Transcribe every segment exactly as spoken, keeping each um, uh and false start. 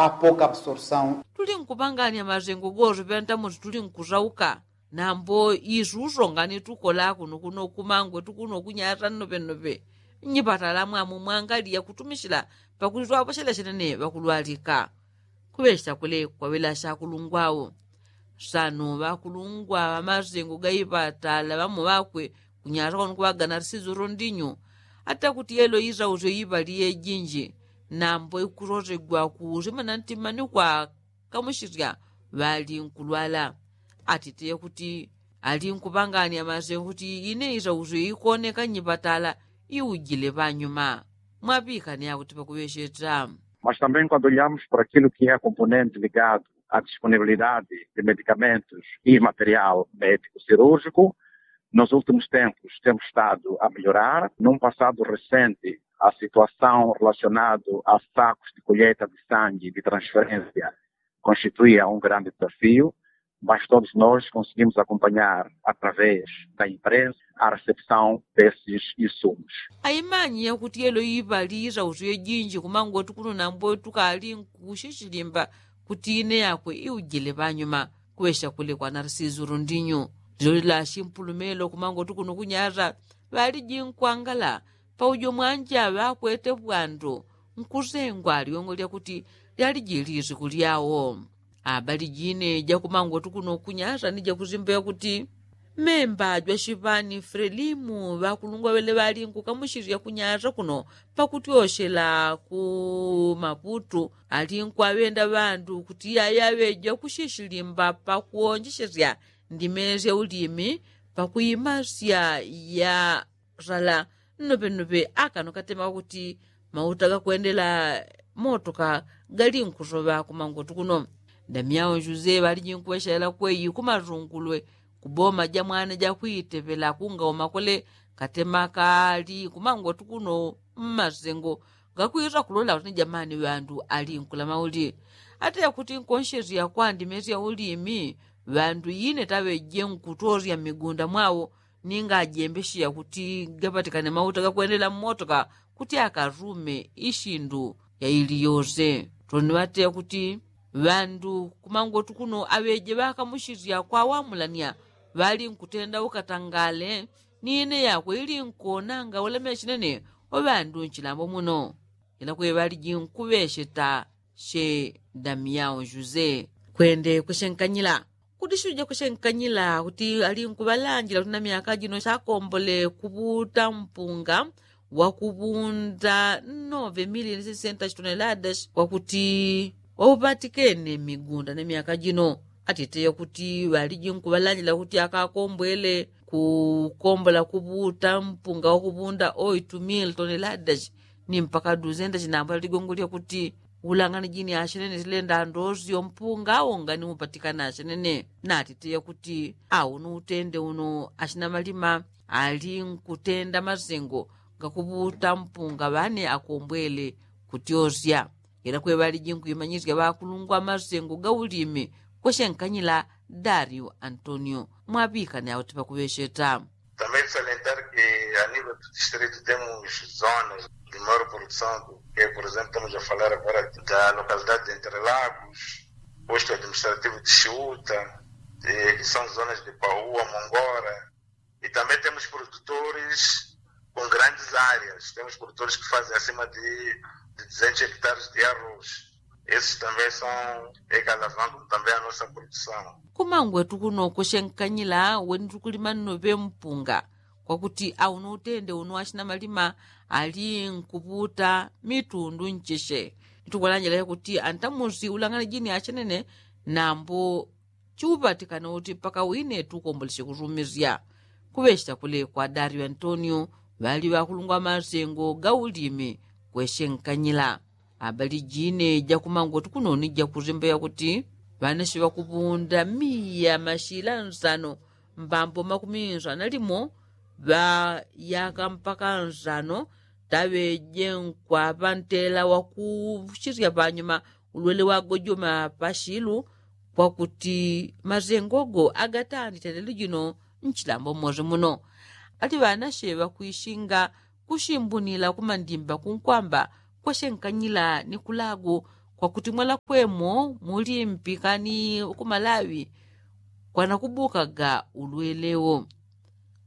A pouca absorção. Tuli nkupangania mazengo gozo pyantamusi tuli nkuzauka. Nambo izuzo ngani tukola kuno kuno kumangwe tukuno kunyata nnopennope. Nyipatala mwamu mwangalia kutumisila pakuti twaposhela shenene ŵakulwalika. Kuŵesha kule kwaŵela shakulungwao. Sano ŵakulungwa ŵamazengo gaipatala ŵamo ŵakwe kunyata kwanu kuŵagana lisizuro ndinyu. Ata kuti yelo izauzyo iŵali yejinji. Nambo ikurozegwa kuusimana ntimani kwa kamushirya ŵali nkulwala. Atite kuti ali nkupangania mazengo kuti ine izauzyo ikoneka nyipatala iujile ŵanyuma. Mwapikane akuti pakuŵesheta. Mas também quando olhamos para aquilo que é a componente ligado à disponibilidade de medicamentos e material médico cirúrgico, nos últimos tempos temos estado a melhorar. Num passado recente, a situação relacionada a sacos de colheita de sangue de transferência constituía um grande desafio, mas todos nós conseguimos acompanhar através da imprensa a recepção desses insumos. Aimanyia kuti yelo iŵali izauzyo ijinji kumangwe tukuno nambo tukali nkushishilimba kuti ine yakwe iujile ŵanyuma. Kuŵesha kule kwa narsizuru ndinyu. Lilo lila shimpulumelo kumangwe tukuno kunyata ŵaliji nkwangala paujo mwanja ŵakwete ŵandu nkusengwa liwongo lyakuti lyaliji lisiku lyao. Abaliji ine jakumangwe tukuno kunyata ni jakuzimba yakuti memba jwashiŵani frelimu ŵakulungwa ŵele ŵali nkukamushirya kunyata kuno pakutyoshela ku maputu ali nkwaŵenda ŵandu kuti yaya ŵeja kushishilimba pakuonjesherya ndime sya ulimi pakuimasya ya sala. Nnopennope akano katema kuti mauta gakwendela motoka gali nkusoŵa kumangotu kuno. Damyao juse ŵaliji nkuŵeshelela kweyi kumazungulwe kuboma jamwana jakwitepela kungauma kule katema kali kumangotu kuno mmasengo gakwisa kulola kuti ni jamani ŵandu ali nkulama uli. Ata yakuti nkonsherya kwa ndime sya ulimi ŵandu ine taŵeje nkutosya mmigunda mwao ninga ajembesheya kuti gapatikane mauta gakwendela mmotoka kuti akarume ishindu yaili yose. Toni ŵateya kuti ŵandu kumangotu kuno aŵeje ŵakamushirya kwawamulanya ŵali nkutenda ukatangale ni ine yakwe ili nkonanga ulemeshe nene wa ŵandu nchilambo muno. Ila kwe ŵaliji nkuŵesheta she damyao juse kwende kushenkanyila kuti shuja kushenkanyila kuti ali nkuŵalanjila kuti na myaka jino shakombole kuŵuta mpunga wakuŵunda nove mili ni sesenta shitoneladas wakuti wauŵatikene mmigunda ni myaka jino. Atiteya kuti ŵaliji nkuŵalanjila kuti akakombwele kukombola kuŵuta mpunga wakuŵunda oitu mili toneladas ni mpaka duzenda chinambwela ligongo lyakuti ulangani jini ashenene silenda ndosyo mpunga awo ngani upatikana ashenene. Natiteya kuti awo ni utende uno ashina malima ali nkutenda masengo gakuŵuta mpunga ŵane akombwele kutyosya. Ila kwe ŵaliji nkuimanyisya ŵakulungwa masengo gaulimi kweshenkanyila dario antonio. Mwaŵikane auti pakuŵesheta. Também salientar que a nível do distrito temos zonas de maior produção do que por exemplo temos a falar agora da localidade de entrelagos, posto administrativo de chiuta, que são zonas de paua mongora. E também temos produtores com grandes áreas temos produtores que fazem acima de duzentos hectares de arroz. Esses também são é que alavancam também a nossa produção. Kumangwetu kuno kushenkanyila weni tukulima nno ŵempunga kwakuti auno utende uno ashina malima ali nkuŵuta mitundu ncheshe. Ntukuŵalanjila yakuti antamusi ulangana jini ashenene nambo chiuŵatikana uti mpaka wine tukomboleshe kusumisya. Kuŵesheta kule kwa dario antonio ŵali ŵakulungwa masengo gaulimi kweshenkanyila. Abali jine jakumangwetu kuno ni jakuzimba yakuti ŵanashe ŵakuŵunda miya mashila nsano mbambo makumi nsano na limo ŵayaka mpaka nsano taŵeje nkwaŵa ntela wakushirya panyuma ulwele wagojoma pashilu kwakuti mazengogo agatandite lelo jino nchilambo mmozi muno. Ati ŵanashe ŵakwishinga kushimbunila kumandimba kunkwamba kwashenkanyila ni kulagu kwakuti mwela kwemo mulimpikani ukumalawi kwanakubukaga ulwelewo.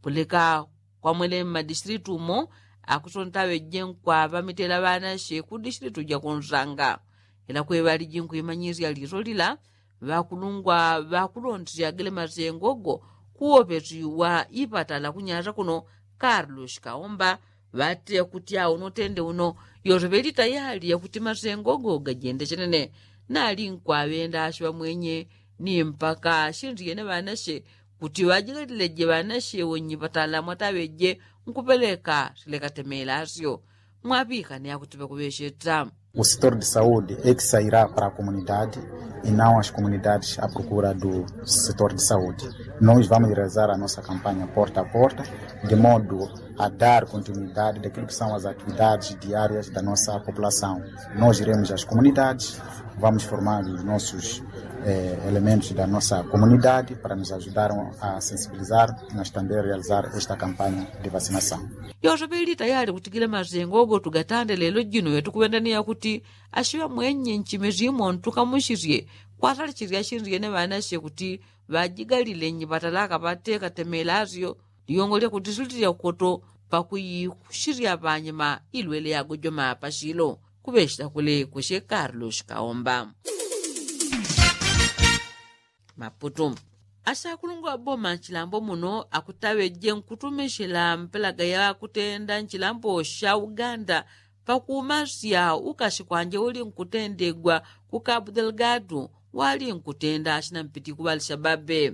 Puleka kwamwele mmadisitilitu umo akusontawe jenkwa ŵamitela ŵanashe ku disitilitu jakunsanga. Ila kweŵaliji nkwimanyisya liso lila ŵakulungwa ŵakulontisya gele masengo go kuwopesi wa ipatala kunyasa kuno. Karlos kaomba ŵatile kuti awo unotende uno yoseŵeli tayali yakuti masengo go gajende chenene. Nali nkwaŵenda ashiŵa mwenye ni mpaka shindiye ne ŵanashe kuti ŵajigalileje ŵanashe wonyipatala mwataŵeje nkupeleka silekatemela asyo. Mwaŵikane akuti ŵakuŵesheta. O setor de saúde é que sairá para a comunidade e não as comunidades à procura do setor de saúde. Nós vamos realizar a nossa campanha porta a porta de modo a dar continuidade daquilo que são as atividades diárias da nossa população. Nós iremos às comunidades, vamos formar os nossos elementos da nossa comunidade para nos ajudarem a sensibilizar, mas também realizar esta campanha de vacinação. Yoseŵeli tayali kutigila masengo go tugatande lelo jino yatukuŵendaniya kuti ashiŵa mwenye nchime shimo ntukamushisye kwasalishisya shindiye ne ŵanashe kuti ŵajigalile nyipatalaka ŵatekatemela asyo. Ligongo lyakuti sililya kukoto pakuyikushisya ŵanyima ilwele yagojoma pashilo. Kuŵesheta kule kusye karlos kaomba. Maputu. Ashakulungwa ŵaboma nchilambo muno akutaŵeje nkutumishila mpelaga yakutenda nchilambo sha uganda pakumasya ukashikwanje uli nkutendegwa ku kabu delgado wali nkutenda ashina mpiti kuŵalisha babe.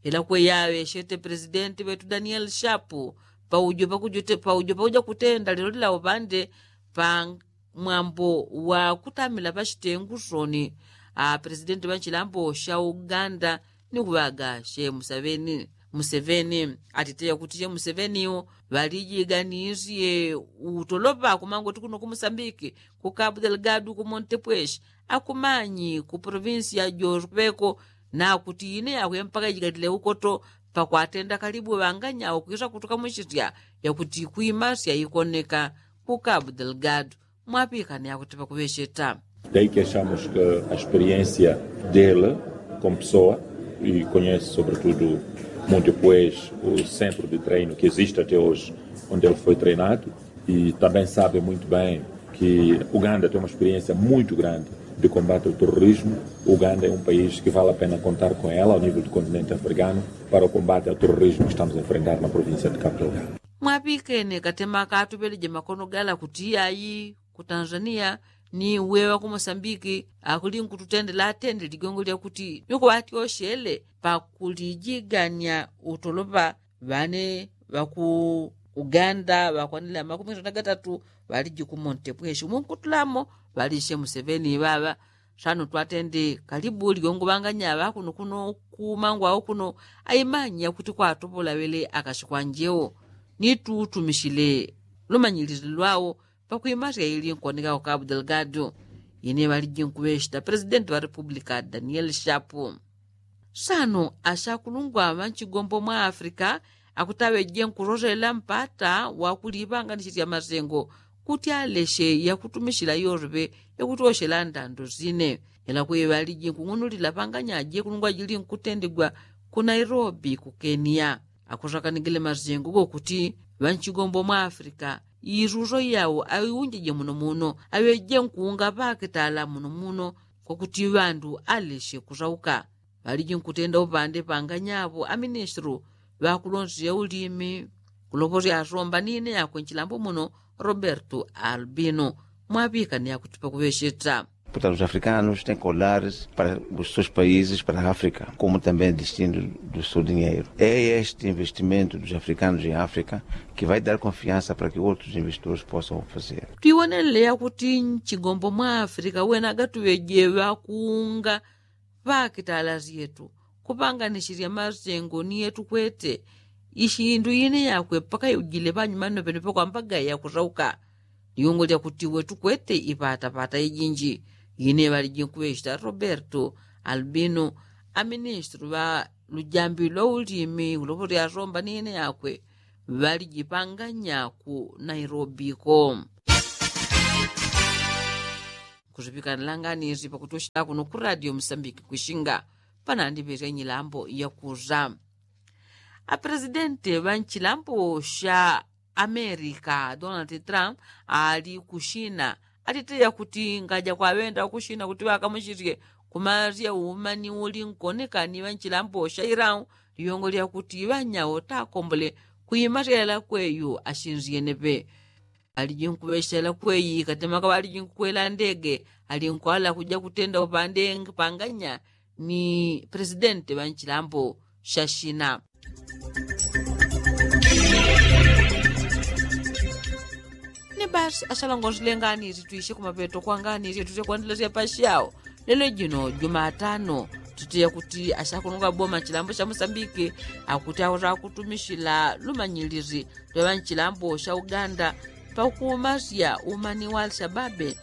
Ila kweyaŵeshete presidenti ŵetu daniel shapu paujo pakuja kutenda lelo lila upande pa mwambo wa kutamila pashitengu soni. Apresidenti ŵa nchilambo sha uganda ni kuŵaga she museveni. Museveni atiteya kuti she museveni ŵalijiganisye utolopa kumangoti kuno kumusambiki ku kabu delgado ku montepueshi akumanyi ku provinsi ya jospeko. Nakuti ine yakwe mpaka ijigalile ukoto pakwatenda kalibu ŵanganyawo kwisa kutukamushisya yakuti kwimasya ikoneka ku kabu delgado. Mwapikane akuti pakuŵesheta. Daí que achamos que a experiência dele como pessoa e conhece sobretudo muito pois o centro de treino que existe até hoje onde ele foi treinado e também sabe muito bem que uganda tem uma experiência muito grande de combate ao terrorismo. Uganda é um país que vale a pena contar com ela ao nível do continente africano para o combate ao terrorismo que estamos a enfrentar na província de cabo delgado. Mwapikene katema katuŵeleje makono gala kuti ayi ku tanzania ni weŵa ku mosambiki akuli nkututendela atende ligongo lyakuti ni kuŵatyoshele pakulijigania utolopa. Ŵane ŵaku uganda ŵakwanile amakumi sano na gatatu ŵaliji ku monte pweshi umo nkutulamo ŵalishe museveni ŵaŵa. Sano twatende kalibu ligongo ŵanganya ŵakuno kuno ku mangwao kuno aimanya kuti kwatopola ŵele akashikwanje wo. Ni tutumishile lumanyilile lwawo pakwimasya ili nkoneka ku kabu delgado. Ine ŵaliji nkuŵeshita presidenti ŵa republika daniel shapu. Sano ashakulungwa ŵa nchigombo mwa afrika akutaŵeje nkusoselela mpata wakuliŵanganisisya masengo kuti aleshe yakutumishila yoseŵe yakutyoshela ndando sine. Ela kweŵaliji nkung'unulila panganyaje kulungwa jili nkutendigwa ku nairobi ku kenia. Akusakanigile masengo gokuti ŵa nchigombo mwa afrika isuso yawo aiunjeje muno muno aŵeje nkuunga ŵakitala muno muno kwakuti ŵandu aleshe kusauka. Ŵaliji nkutenda upande panganyapo aministru ŵakulonseya ulimi kuloposya asomba ni ine yakwe nchilambo muno roberto albino. Mwaŵikane akuti pakuŵesheta. Portanto os africanos tem colares para os seus países para a africa como também destino do seu dinheiro é este investimento dos africanos em africa que vai dar confiança para que outros investidores possam fazer. Twiwonelele yakuti nchigombo mwa afrika wena agatuŵeje ŵakuunga ŵakitala syetu kupanganisisya masengo ni yetu kwete. Ishindu ine yakwe pakayujile panyuma nopenope kwambaga yakusauka. Liungo lyakuti wetu kwete ipatapata ijinji. Ine ŵaliji nkuŵeshita roberto albino aministru ŵa lujambi lwa ulimi ulopo lyasomba ni ine yakwe ŵalijipanganya ku nairobi ko. Kuzipikanila nganizi pakutushila kuno ku radio musambiki kwishinga panandiŵerya nyilambo yakuza. Apresidenti ŵa nchilambo sha amerika donald trump ali kushina atiteya kuti ngaja kwaŵenda kushina kuti ŵakamushirye kumarya umani uli nkoneka ni ŵa nchilambo sha irau. Liyongo lyakuti ŵanyao takombole kuimarya yalakweyu ashinzyenepe. Ŵaliji nkuŵeshela kweyi katemaka ŵaliji nkukwela ndege ali nkwala kuja kutenda upande ngipanganya ni presidenti ŵa nchilambo sha shina. Ni basi ashalongonzile nganizitwishe kumapeto kwa nganizitwishe kwandelesya pashao. Lelo jino jumatano tutiya kuti ashakununga boma chilambo sha musambiki akuti akuta kutumishila lumanyilizi lwa ŵa nchilambo sha uganda pakuumasya umani wa alshababe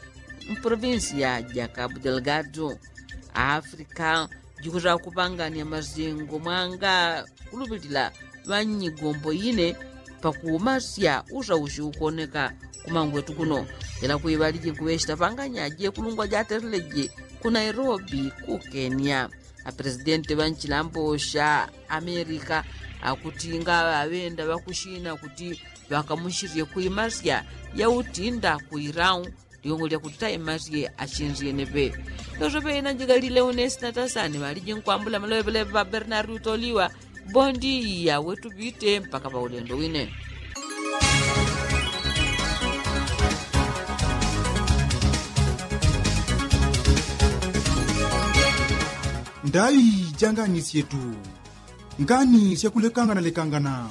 mporovinsiya ja kabu delgado. Aafrika jikuta kupangania mazingo mwanga kuluŵilila ŵa nnyigombo ine pakuumasya usaushi ukoneka kumangwetu kuno. Ila kwiŵaliji nkuŵeshita panganya jekulungwa jatereleje ku nairobi ku kenya. Apresidenti ŵa nchilambo sha amerika akuti ngaŵaŵenda ŵakushina kuti ŵakamushirye kwimasya yautinda ku irau. Liyongo lyakuti taimasye ashinzyenepe. Yosope ina njigalile une sinatasani ŵaliji nkwambula maloŵeleŵe ŵa bernardi utoliwa. Bondi yawe tupite mpaka ŵaulendo wine. Ndai janganisyetu ngani syakulekangana lekangana.